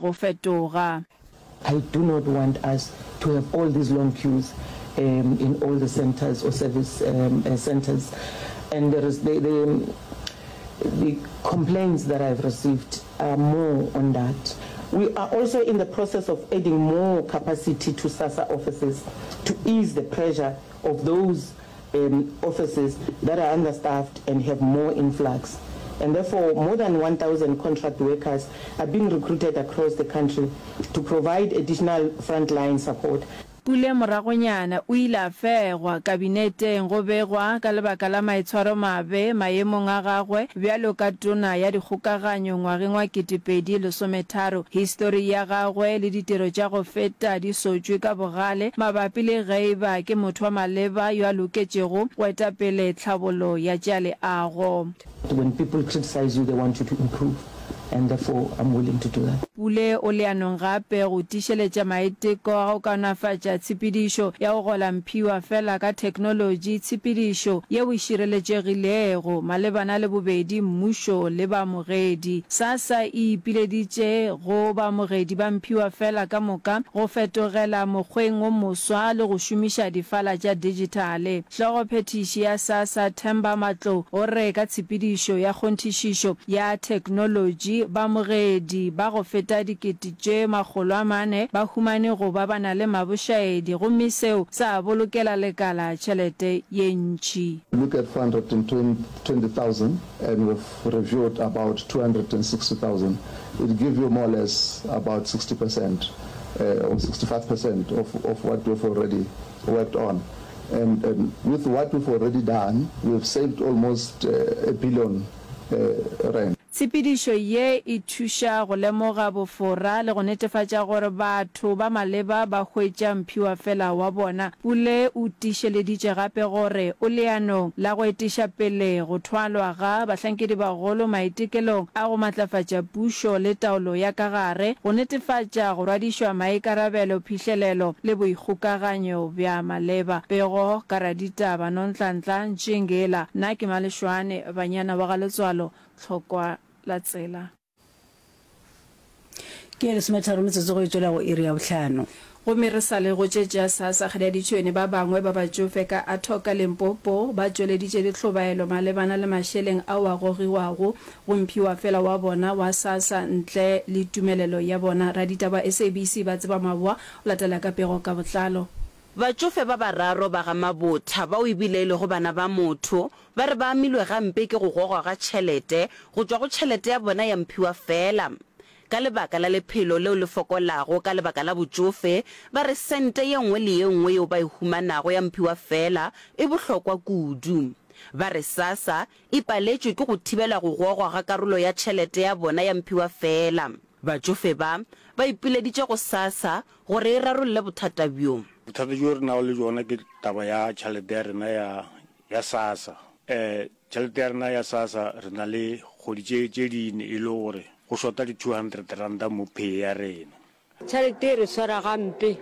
go fetoga. I do not want us to have all these long queues um in all the centres or service um centres and there is the the the complaints that I've received are more on that. We are also in the process of adding more capacity to SASSA offices to ease the pressure of those um offices that are understaffed and have more influx and therefore more than 1,000 contract workers are being recruited across the country to provide additional frontline support. Pule moragonyana o ile a fegwa kabineteng go begwa ka lebaka la maitshwaromabe maemong a gagwe bjalo ka tona ya dikgokaganyo ngwageng wa 2013. Histori ya gagwe le ditiro tša go feta di sotšwe ka bogale mabapi le ge e ba ke motho wa maleba yo a loketšego go eta pele tlhabolo ya tša leago. When people criticize you they want you to improve and therefore I'm willing to do that. Pule o leanong gape go tiišeletša maiteko a go kaonafatša tshepedišo ya go gola mphiwa fela ka theknolotši, tshepedišo yeo e šireletšegilego malebana le bobedi mmušo le baamogedi. SASSA e ipileditše go baamogedi ba mphiwa fela ka moka go fetogela mokgweng wo moswa le go šomiša difala tša dijithale. Hlogophethiši ya SASSA Themba Matlou o re ka tshepedišo ya kgonthišišo ya theknolotši, baamogedi ba go feta 400 ba humane go ba ba na le mabošaedi gomme seo sa bolokela lekala tšhelete ye ntši. Look at 420,000 and we've reviewed about 260,000. It give you more or less about 60 percent or 65 percent of, of what we've already worked on. And, and with what we've already done, we've saved almost a billion rand. Tshepedišo ye e thuša go lemoga bofora le go netefatša gore batho ba maleba ba hwetša mphiwafela wa bona. Pule o tiišeleditše gape gore o leanong la go etiša pele go thwalwa ga bahlankedibagolo maitekelong a go matlafatša pušo le taolo ya ka gare, go netefatša go rwadišwa maikarabelo, phihlelelo le boikgokaganyo bja maleba. Pego ka raditaba Nonhlanhla Ntšingila. Nna ke Malešwane, banyana wa ga Letswalo, Tlhokwa la tsela. Ke ye lesometharo metsotso go e tšwela go iri ya bohlano. Gomme re sa le go tše tša SASSA Kgadiaditšhwene ba bangwe ba batšofe ka Athoka Limpopo ba tšweleditše dihlobaelo malebana le mašeleng ao a gogiwago go mphiwafela wa bona wa SASSA ntle le tumelelo ya bona. Raditaba SABC Batseba Maboa o latela ka pego ka botlalo. Batšofe ba bararo ba ga Mabotha bao e bile e lego bana ba motho ba re ba amilwe gampe ke go gogwa ga tšhelete go tšwa go tšhelete ya bona ya mphiwafela. Ka lebaka la lephelo leo le fokolago ka lebaka la botšofe, ba re sente ye nngwe le ye nngwe yeo ba e humanago ya mphiwafela e bohlokwa kudu. Ba re SASSA e paletšwe ke go thibela go gogwa ga karolo ya tšhelete ya bona ya mphiwafela. Batšofe ba, ba ipileditše go SASSA gore e rarolle bothata bjo. Bothata bjo re nago le bjona ke taba ya tšhelete ya rena ya ya SASSA. Eh, tšhelete ya rena ya SASSA re na le kgwedi tše tše dine e le gore go shota di 200 ranta mo pay ya rena. Tšhelete e re swara gampe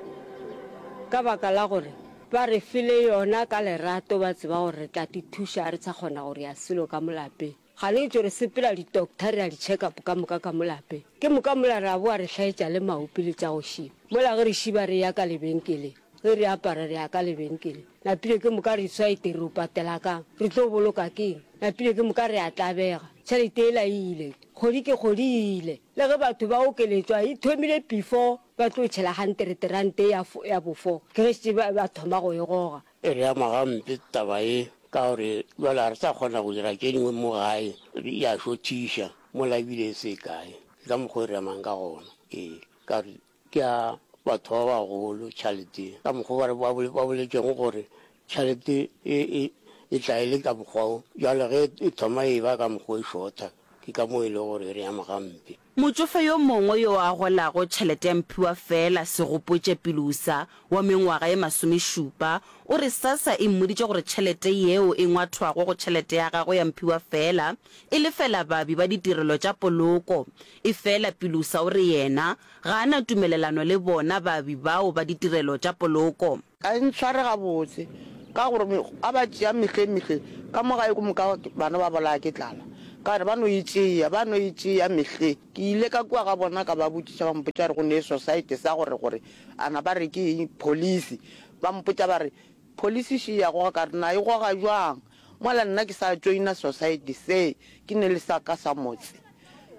ka baka la gore ba re file yona ka lerato ba tseba gore re tla ti thuša ga re sa kgona go rea selo ka mo lapeng. Ga le tšo re sepela di doctor re ya di check up ka moka ka mo lapeng. Ke moka mola re a boa re hlaetša le maopi le tša go šiba. Mola ge re šiba re ya ka lebenkeleng, ge re apara re ya ka lebenkeleng. Napile ke moka re swa ete re o patela kang? Re tlo boloka keng? Napile ke moka re a tlabega. Tšhelete yela e ile. Kgwedi ke kgwedi e ile. Le ge batho ba okeletšwa e thomile before ba tlo tšhela hantereterante ya ya bo four. Ke ge šetše ba ba thoma go e goga. E re ama gampe taba ye ka gore bjale ga re sa kgona go dira tše dingwe mo gae, ya šothiša mola ebile e se kae. Ke ka mokgwa o e re amang ka gona. Ee, ka gore ke ya batho ba bagolo tšhalete ye. Ka mokgwa o ba ba boletšego gore tšhalete e e e tla e le ka mokgwa wo, bjale ge e thoma e ba ka mokgwa o e šotha, ke ka moo e lego gore e re ama gampe. Motšofe yo mongwe yo a golago tšhelete ya mphiwafela, Segopotše Pilusa, wa mengwaga ye masomešupa, o re SASSA e mmoditše gore tšhelete yeo e ngwathwago go tšhelete ya gagwe ya mphiwafela e lefela baabi ba ditirelo tša poloko. Efela Pilusa o re yena ga a na tumelelano le bona baabi bao ba ditirelo tša poloko. Ga e ntshware gabotse ka gore a ba tšea mehleng mehleng ka mo gae ke moka bana ba bolaya ke tlala. Ka re, Ba no e tšea, ba no e tšea mehleng. Ke ile ka kua ga bona ka ba botšiša, ba mpotša gore go ne society sa gore, gore a na ba re ke eng, police. Ba mpotša ba re, Police še e a goga. Ka re, Na e goga bjang? Mola nna ke sa joina society se, ke ne le sa ka sa motse.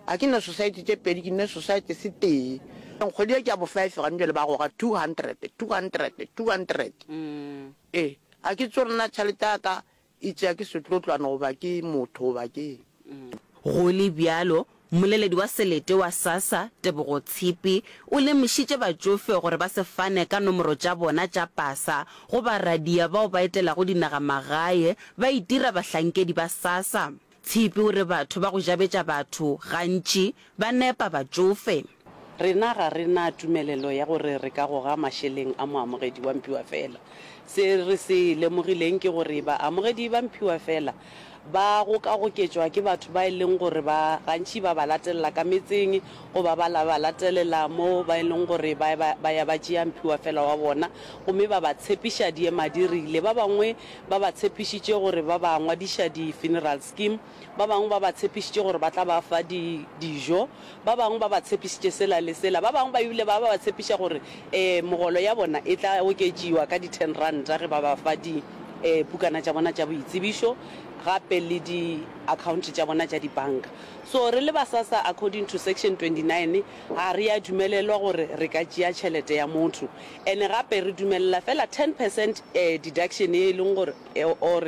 A ke ne society tše pedi, ke ne society se tee. Kgwedi ye ke ya bo five gane bjale ba goga 200, 200, 200. Ee, a ke tsebe gore na tšhelete ya ka E tšea ke setlotlwana goba ke motho goba ke eng? Go le bjalo, mmoleledi wa selete wa SASSA, Tebogo Tshipi, o lemošitše batšofe gore ba se fane ka nomoro tša bona tša pasa go baradia bao ba etelago dinagamagae ba itira bahlankedi ba SASSA. Tshipi o re batho ba go jabetša batho gantši ba nepa batšofe. Rena ga re na tumelelo ya gore re ka goga mašeleng a moamogedi wa mphiwafela. Se re se lemogileng ke gore baamogedi ba mphiwafela ba gokagoketšwa ke batho ba e leng gore ba gantši ba ba latelela ka metseng goba ba ba latelela mo ba e leng gore ba ba ya ba tšea mphiwafela wa bona gomme ba ba tshepiša diemadirile. Ba bangwe ba ba tshepišitše gore ba ba ngwadiša di-funeral scheme, ba bangwe ba ba tshepišitše gore ba tla ba fa di, dijo, ba bangwe ba ba tshepišitše sela le sela, ba bangwe ba ebile ba ba tshepiša gore um megolo ya bona e tla oketšiwa ka di-ten ranta ge ba ba fa di um pukana tša bona tša boitsebišo gape le di-account tša bona tša dibanka. So re le ba SASSA according to section 29 ga re a dumelelwa gore re ka tšea tšhelete ya motho and gape re dumelela fela ten percent deduction ye e leng gore or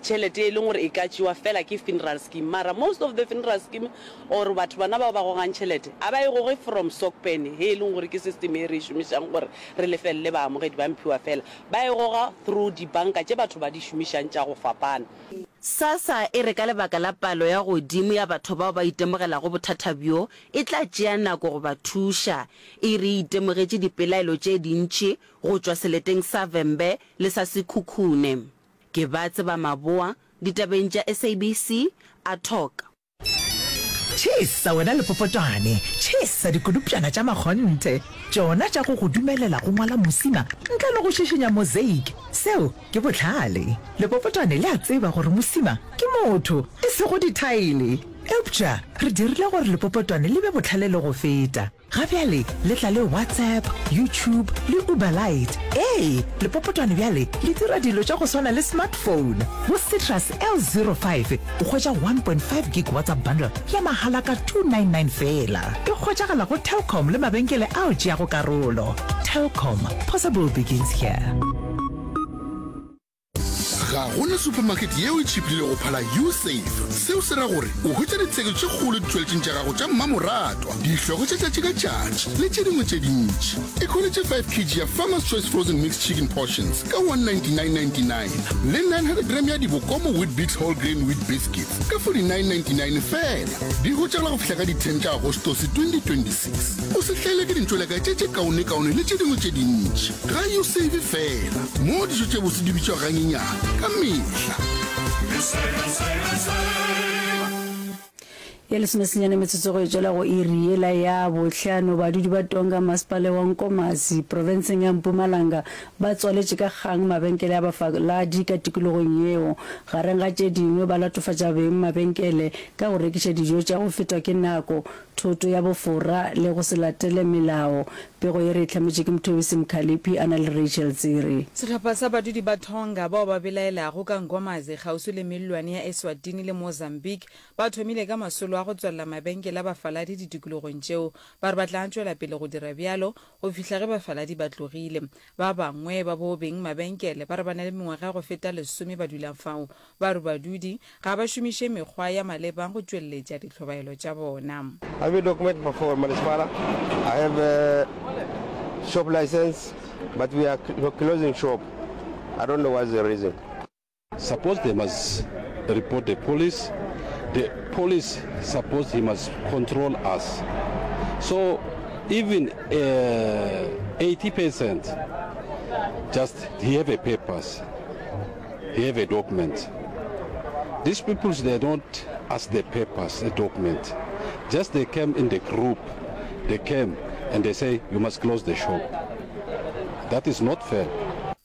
tšhelete ye e leng gore e ka tšewa fela ke funeral scheme mara most of the funeral scheme or batho bona bao ba gogang tšhelete a ba e goge from SOCPEN he e leng gore ke system ye re e šomišang gore re lefelele baamogedi ba mphiwafela ba e goga through dibanka tše batho ba di šomišang tša go fapana. SASSA e re ka lebaka la palo ya godimo ya batho bao ba itemogelago bothata bjo, e tla tšea nako go ba thuša. E re e itemogetše dipelaelo tše dintši go tšwa seleteng sa Vhembe le sa Sekhukhune. Ke ba tseba Maboa, ditabeng tša SABC, a talk. Tšhesa wena lepopotwane, tšhesa dikodupšana tša makgonthe, tšona tša go go dumelela go ngwala mosima ntle le go šišinya mosaic. Seo ke bohlale. Lepopotwane le a tseba gore mosima ke motho, e sego dithaele. Eupša re dirile gore lepopotwane le be bohlale le go feta. Ga bjale le tla le WhatsApp, YouTube le Uber Lite. Ee, lepopotwane bjale le dira dilo tša go swana le smartphone. Go Citrus L05 o hwetša 1.5 gig WhatsApp bundle ya mahala ka 299 feela. E hwetšagala go Telkom le mabenkele ao tšeago karolo. Telkom, possible begins here. Ga go na supermarket yeo e tšhiphile go phala Usave. Seo se ra gore o hwetša ditheko tše kgolo ditšweletšing tša gago tša mmamoratwa, dihlogo tša tšatši ka tšatši le tše dingwe tše dintši. Ikhweletše 5 kg ya Farmer's Choice Frozen Mixed Chicken Portions ka 199.99 le 900 gram ya Dibokomo Weet-Bix Whole Grain Wheat Biscuits ka 49.99 feela. Di hwetšagala go fihla ka di 10 tša Agostose 2026. O se hlaelwe ke dintšweleka tše tše kaonekaone le tše dingwe tše dintši. Ga U save fela, moo dijo tše bose di bitšwa ganyenyane ka mehla. Ya lesomesenyane metsotso go e tšwela go iri yela ya bohlano, badudi ba Tonga masepaleng wa Nkomazi profenseng ya Mpumalanga ba tswaletše ka kgang mabenkele a bafaladi ka tikologong yeo. Gareng ga tše dingwe ba latofatša beng mabenkele ka go rekiša dijo tša go fetwa ke nako, thoto ya bofora le go se latele melao. Pego ye re e hlametše ke Mthobisi Mkhaliphi a na le Rachel Tsiri. Sehlopha sa badudi ba Tonga bao ba belaelago ka Nkomazi kgauswi le mellwane ya Eswatini le Mozambique ba thomile ka masolo a go tswalela mabenkele a bafaladi ditikologong tšeo. Ba re ba tla tšwela pele go dira bjalo go fihla ge bafaladi ba tlogile. Ba bangwe ba bo beng mabenkele ba re ba na le mengwaga ya go feta lesome ba dula fao. Ba re badudi ga ba šomiše mekgwa ya maleba go tšweletša dihlobaelo tša bona. I have a document for Municipal, I have a shop license but we are closing shop, I don't know what's the reason. Suppose they must report the police, the police suppose he must control us. So even uh, 80% just he have a papers. He have a document. These people they don't ask the papers, the document. Just they came in the group. They came and they say you must close the shop. That is not fair.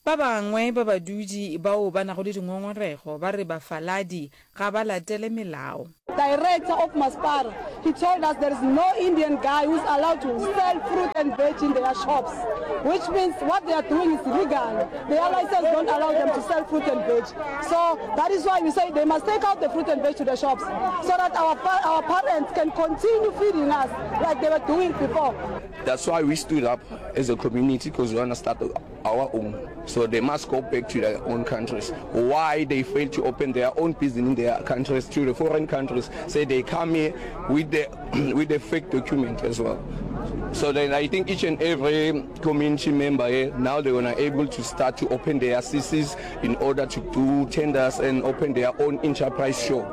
Ba bangwe ba badudi bao ba nago le dingongorego ba re bafaladi ga ba latele melao. Director of Maspara, he told us there is no Indian guy who's allowed to sell fruit and veg in their shops, which means what they are doing is illegal. Their license don't allow them to sell fruit and veg. So that is why we say they must take out the fruit and veg to the shops so that our, our parents can continue feeding us like they were doing before. That's why we stood up as a community because we want to start our own. So they must go back to their own countries. Why they fail to open their own business in their countries to the foreign countries? Say they come here with the with the fake document as well. So then I think each and every community member here now they're gonna able to start to open their CCs in order to do tenders and open their own enterprise shop.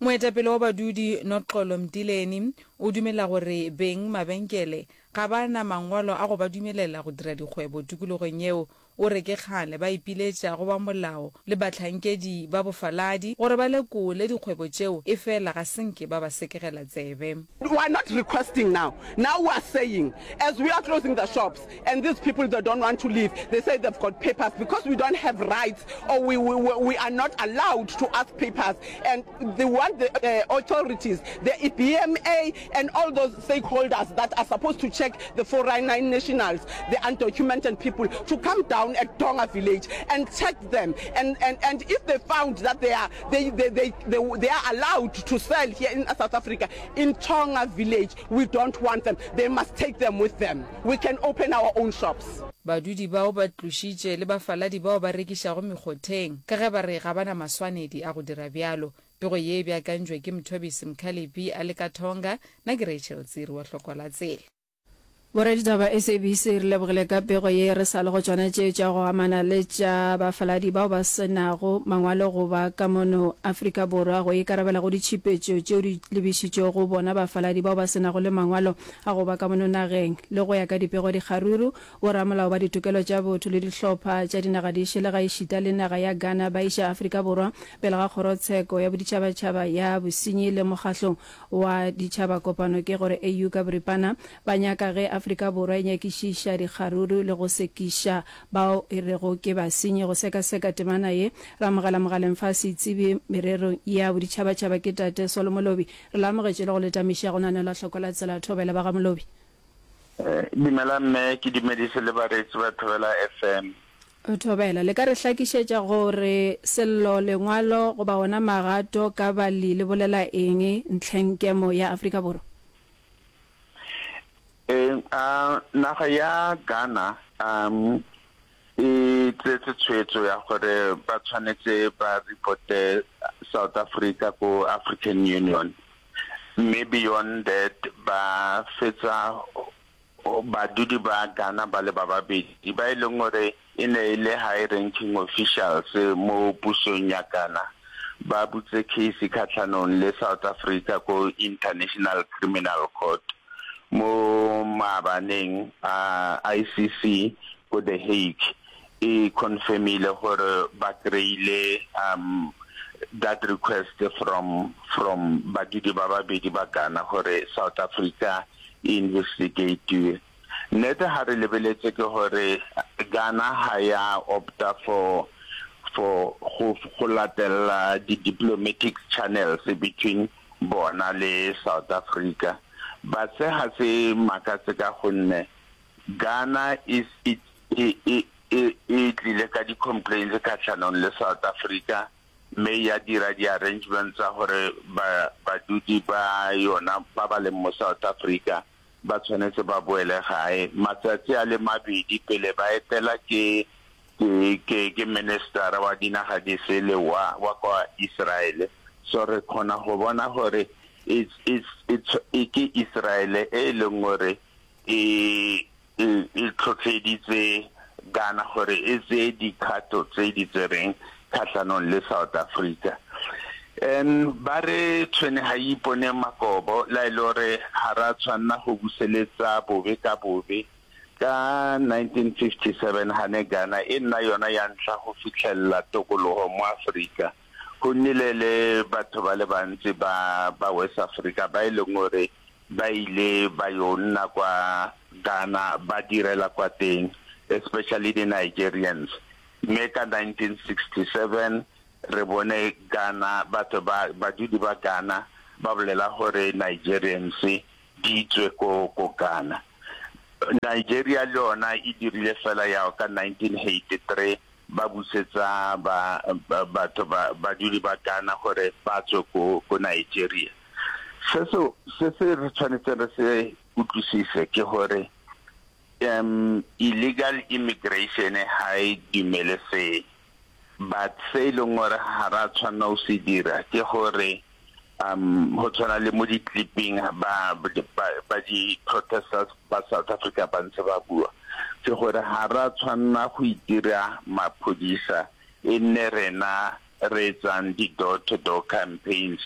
Moetapele wa badudi Noxolo Mtileni o dumela gore beng mabenkele Ga ba na mangwalo a go ba dumelela go dira dikgwebo tikologong yeo. O re ke kgale ba ipiletša go ba molao le bahlankedi ba bofaladi gore ba lekole dikgwebo tšeo efela ga se nke ba ba sekegela tsebe. We are not requesting now, now we are saying as we are closing the shops and these people they don't want to leave, they say they've got papers because we don't have rights or we, we, we are not allowed to ask papers and they want the uh, authorities, the EBMA and all those stakeholders that are supposed to check the 499 nationals, the undocumented people, to come down at Tonga village and check them. And, and, and if they found that they are, they, they, they, they, they are allowed to sell here in South Africa, in Tonga village, we don't want them. They must take them with them. We can open our own shops. Badudi bao ba tlošitše le bafaladi bao ba rekišago mekgotheng ka ge ba re ga ba na maswanedi a go dira bjalo. Pego ye e beakantšwe ke Mthobisi Mkhalipi a le ka Tonga, nna ke Rachel Tsiri wa Hlokwa la Tsela. Boraditaba SABC re lebogile ka pego ye re sa le go tšona tše tša go amana le tša bafaladi bao ba se nago mangwalo go ba ka mono Afrika Borwa go ikarabela go ditšhupetšo tšeo di lebišitšwego go bona bafaladi bao ba se nago le mangwalo a go ba ka mono nageng le go ya ka dipego dikgaruru Boramolao ba ditokelo tša botho le dihlopha tša dinaga di šele gaešita le naga ya Ghana ba iša Afrika Borwa pele ga Kgorotsheko ya Boditšhabatšhaba ya Bosenyi le Mokgahlo wa Ditšhabakopano ke gore AU ka boripana ba nyaka ge Afrika Borwa e nyakišiša dikgaruru le go sekiša bao e rego ke basenyi. Go sekaseka temana ye re amogela mogaleng fa setsebi mererong ya boditšhabatšhaba ke Tate Solo Molobi. Re le amogetše le go le tamiša go naneola hloko la tsela thobela ba ga Molobi. Dumela mme, ke dumedise le bareetsi ba Thobela FM. Thobela, le ka re hlakišetša gore sello, lengwalo goba ona magato ka bali le bolela eng ntlheng kemo ya Afrika Borwa? Ee, a naga ya Ghana um e tsetse tshwetso ya gore ba tshwanetse ba reporte South Africa ko African Union. Mme beyond that ba fetsa badudi ba Ghana ba le ba babedi ba e leng gore e ne e le high ranking officials mo pusong ya Ghana ba butse case khatlhanong le South Africa ko International Criminal Court mo maabaneng a ICC ko The Hague e confirmile gore ba kry-ile um that request from from badudi ba babedi ba Ghana gore South Africa e investigatiwe. Nnete ha re lebeletse ke gore Ghana ha ya opta for for go go latella di diplomatic channels between bona le South Africa. But se ga se makatse ka gonne Ghana is e e e e e tlile ka di complaints kgatlhanong le South Africa mme ya dira di arrangements tsa gore ba badudi ba yona ba ba leng mo South Africa ba tshwanetse ba boele gae matsatsi a le mabedi pele ba etela ke ke ke ke minister wa dinaga di sele wa wa kwa Israel so re kgona go bona gore it's it's it's ke Israel e e leng gore e e e tlhotlheditse Ghana gore e tseye dikgato tse di tsereng kgatlhanong le South Africa. And ba re tshwene ga e ipone makobo la e le gore ga ra tshwanna go buseletsa bobe ka bobe. Ka 1957 ga ne Ghana e nna yona ya ntlha go fitlhelela tokologo mo Aforika, go nnile le batho ba le bantsi ba ba West Africa ba e leng gore Ba ile ba yo nna kwa Ghana ba direla kwa teng, especially di Nigerians. Mme ka 1967 re bone Ghana, batho ba, badudi ba Ghana. ba bolela gore Nigerians di tswe ko ko Ghana. Nigeria le yona e dirile fela yao ka 1983 ba busetsa ba batho ba badudi ba Ghana gore ba tswe ko ko Nigeria. Se se se se re tshwanetseng re se utlwisise ke gore um illegal immigration ha e dumelesege but se e leng gore ga ra tshwanela go se dira ke gore um go tshwana le mo di-clipping ba ba di-protesters ba South Africa ba ntse ba bua ke gore ga ra tshwanela go itira maphodisa e nne rena re etsang di-door to door campaigns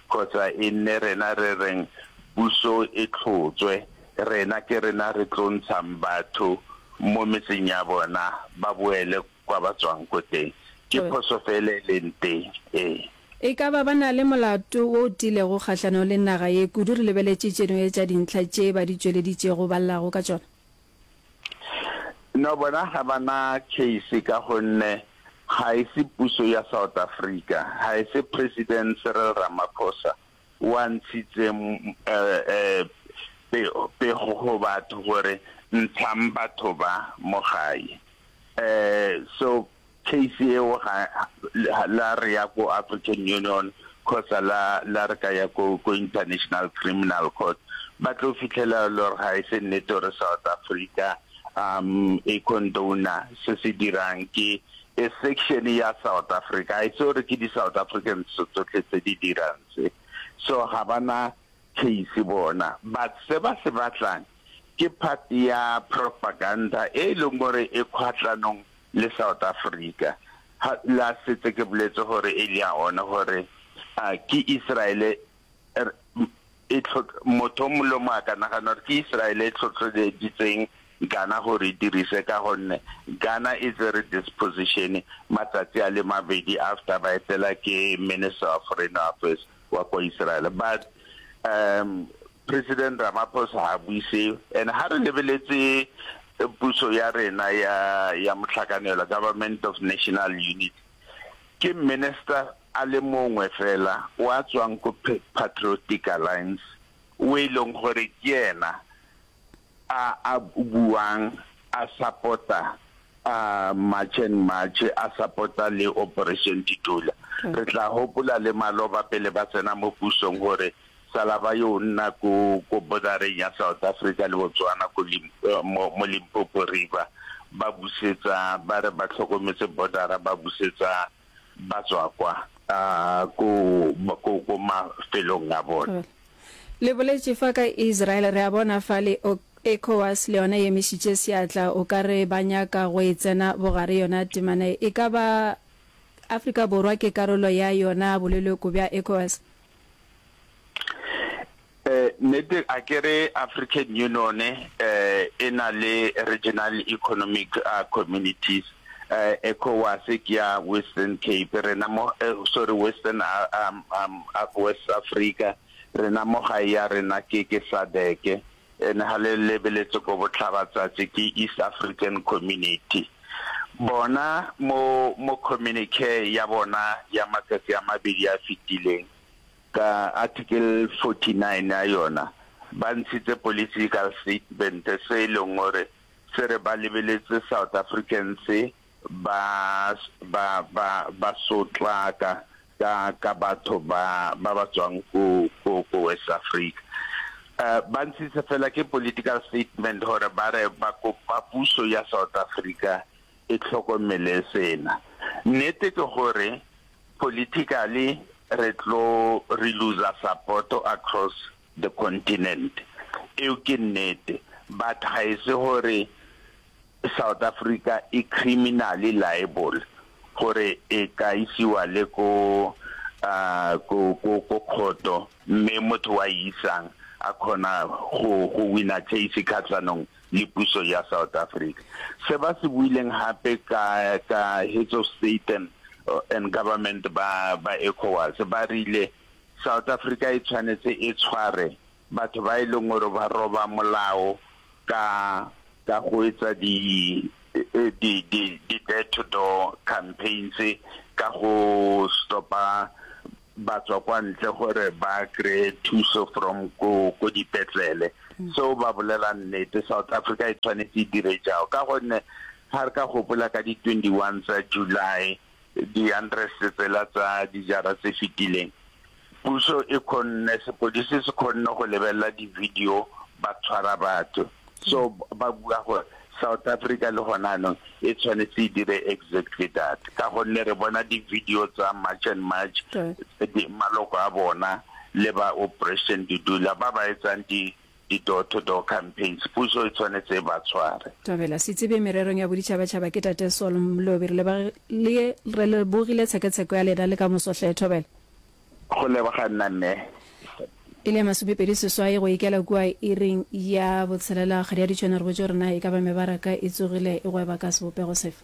kgotsa e nne rena re reng puso e tlhotswe, rena ke rena re tlo ntshang batho mo metseng ya bona ba boele kwa ba tswang ko teng. Ke phoso fela e leng teng, ee. E ka ba ba na le molato wo o tiilego kgahlanong le naga ye, kudu re lebeletše tše dingwe tša dintlha tše ba di tšweleditšego ba llago ka tšona? No, bona ga ba na case ka gonne ga e se puso ya South Africa, ga e se President Cyril Ramaphosa o a ntshitseng pego go batho gore ntshang batho ba mo gae. So case eo ga la re ya ko African Union kgotsa la la re ka ya ko ko International Criminal Court ba tlo fitlhela le gore ga e se nnete gore South Africa um e condona se se dirang ke e section ya South Africa ga e se gore ke di South Africans tsotlhe tse di dirang se so ga bana case bona but se ba se batlang ke part ya propaganda e leng gore e kgwatlhanong le South Africa. Ha la setse ke boletse gore earlier on gore a ke Israel e motho o mongwe le mongwe a ka nagana gore ke Israel e tlhotlheleditseng Ghana gore e dirise ka gonne Ghana e tsere this position matsatsi a le mabedi after ba etela ke Minister of Foreign Affairs wa kwa Israel but um President Ramaphosa ga a bue seo and ha re lebeletse puso ya rena ya ya motlhakanelo, Government of National Unity, ke minister a le mongwe fela wa tswang ko Patriotic Alliance o e leng gore ke ena a a buang a support-a a March and March a support-a le Operation Dudula. Re tla hopola le maloba pele ba tsena mo pusong gore sala ba yo nna ko ko bordereng ya South Africa le Botswana ko mo, mo Limpopo River ba busetsa ba re ba tlhokometse bordera ba busetsa ba tswa kwa ko ko ko mafelong a bona. Le boletše fa ka Israel, re a bona fa le ECOWAS le yona e emišitše seatla, o ka re ba nyaka go e tsena bogare yona temana ye. E ka ba Afrika Borwa ke karolo ya yona boleloko bja ECOWAS? Nnete a ke re African Union e na le Regional Economic Communities, ECOWAS ke ya Western Cape, rena mo sorry Western West Africa, rena mo gae ya rena ke ke SADC, and ha le lebeletse ko botlhabatsatsi ke East African Community. Bona mo mo communique ya bona ya matsatsi a mabedi a fetileng, Ka Article 49 ya yona, ba ntshitse political statement se e leng gore se re ba lebeletse South Africans ba ba ba ba sotlaka ka ka batho ba ba ba tswang ko ko ko West Africa. Uh, ba ntshitse fela ke political statement gore ba re ba kopa puso ya South Africa e tlhokomele sena. Nnete ke gore Politically re tlo re looser support across the continent, eo ke nnete, but ga e se gore South Africa e criminally liable gore e ka isiwa le ko ko ko ko khoto mme motho wa e isang a kgona go go wina case kgatlhanong le puso ya South Africa. Se ba se buileng gape ka ka heads of state and, and government ba ba ECOWAS ba rile South Africa e tshwanetse e tshware batho ba e leng gore ba roba molao ka ka go etsa di di di di door to door campaigns ka go stopa. ba tswa kwa ntle gore ba kry-e thuso from ko ko dipetlele. Seo ba bolela nnete, South Africa e tshwanetse e dire jao ka gonne ga re ka gopola ka di 21 tsa July di-unrest tsela tsa dijara tse fetileng, puso e kgonne, sepodisi se kgonne go lebelela di-video ba tshwara batho. So ba bua gore South Africa le gona anong e tshwanetse e dire exactly that ka gonne re bona di-video tsa March and March, maloko a bona le ba Operation Dudula ba ba etsang di di-door to door campaigns, puso e tshwanetse e ba tshware. Thobela, Setsebi mererong ya boditšhabatšhaba ke Tate Saul Mlobi. Re lebagile, re lebogile tshekatsheko ya lena le ka moso hle. Thobela. Go leboga nna mme. E le 28 go ikela kua iring ya botshelela kgwedi ya Ditšhwane re botše gore na e ka ba mebaraka e tsogile e gweba ka sebopego sefe.